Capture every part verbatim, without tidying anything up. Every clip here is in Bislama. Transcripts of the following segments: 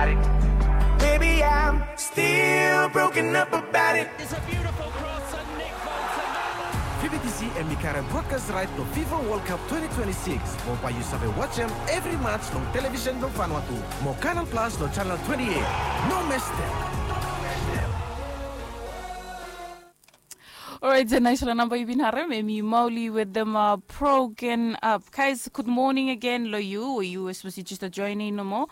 Baby, I'm still broken up about it. It's a beautiful cross and Nick Bolton. Fibitisi em i karem broadcast right blong fifa world cup twenty twenty-six, mo bae yu save wajem evri match long television blong Vanuatu mo Canal Plus long channel twenty-eight. No mestem. Orait, naispela namba yu bin harem em i mauli wetem broken up. Guys, good morning again long yu, yu especially just joining nomo.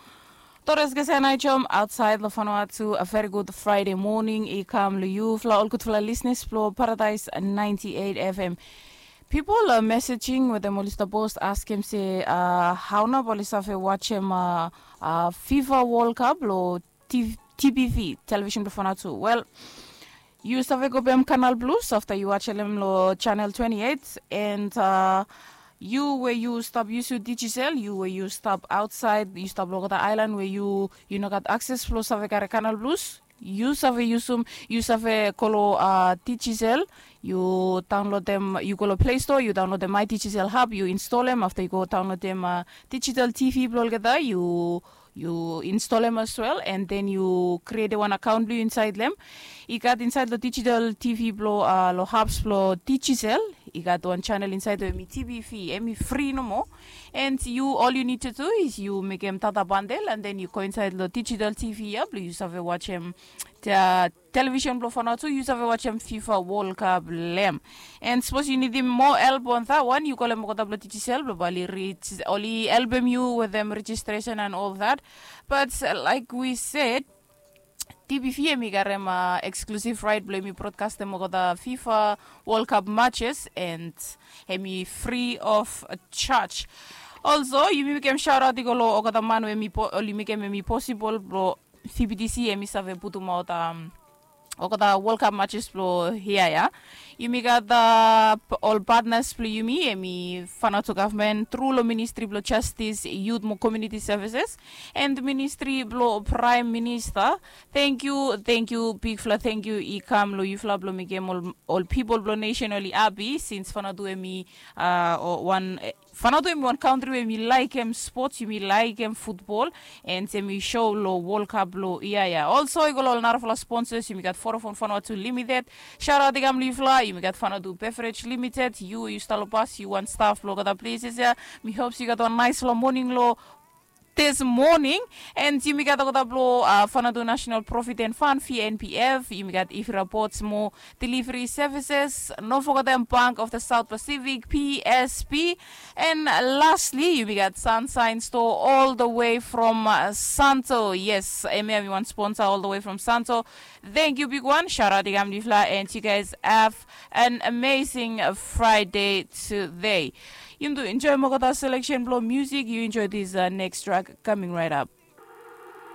Tores gesa nai jom outside long Vanuatu, a very good Friday morning i kam long yu fla ol gudfala listeners blong Paradise ninety-eight F M. People are messaging wetem oli stap post askem se uh, hau na bali save wajem uh, uh, fifa world cup long T- TBV, television blong Vanuatu. Well, yu save go bem Canal Plus afta yu wajem long channel twenty-eight and uh, yu we yu stap yusim digital, yu we yu stap outside, yu stap long olgeta island we yu yu no gat akses blong save kare Canal Plus, yu save yusum, yu save go long uh, digital, yu download dem, yu go long Play Store, yu download dem my digital hub, yu install em afta yu go download dem uh, digital T V blong olgeta, yu yu install em as well and then yu create wan account blong yu inside lem. I gat inside long digital T V blong uh, long hubs blong digital. I gat wan channel inside we em i T B V, em i free nomo. And you all you need to do is yu mekem data bundle and then yu go inside long digital T V ya blong yu save wajem dia television blong Vanuatu, yu save wajem fifa world cup lem. And sapos yu nidim moa help on that one, yu kolem olgeta blong digital blong bali reach oli helpem yu wetem registration and all that. But uh, like we said, TBV em i karem uh, exclusive right blong em i broadcastem olgeta fifa world cup matches and em i free of charge. Also, yumi mekem shout out i go long olgeta man we em i po- oli mekem em i possible blong Fibitisi em i save putumaot um, olgeta World Cup matches blong hia ya. Yumi gat uh, ol partners blong yumi, em i Vanuatu government tru long Ministry blong Justice, Youth mo Community Services and Ministry blong Prime Minister. Thank you, thank you, bigfala thank you i kam long yufala blong mekem ol, ol people blong nation oli happy since Vanuatu em i uh, wan Vanuatu em i wan kantri we mi laikim sports, yumi laikim futbol, and em i show long World Cup long ia ya. Also i go long ol narafala sponsors, yumi gat Vodafone Vanuatu Limited. Shout out i kam long yufala, yumi gat Vanuatu Beverage Limited. Yu yu stap long bas, yu wan staff long olgeta places ya. Mi hopes yu gat wan naisfala moning long this morning. And yumi gat olgeta blong uh, Vanuatu National Provident Fund, V N P F. Yumi gat Ifira Ports mo Delivery Services. No forgetem Bank of the South Pacific, P S P. And lastly, yumi gat Sunshine Store all the way from uh, Santo. Yes, em ya mi wan sponsor all the way from Santo. Thank you, big one. Shout out i kam long yufala, and you guys have an amazing uh, Friday today. Yumi do enjoy olgeta selection blong music. You enjoy this uh, next track coming right up.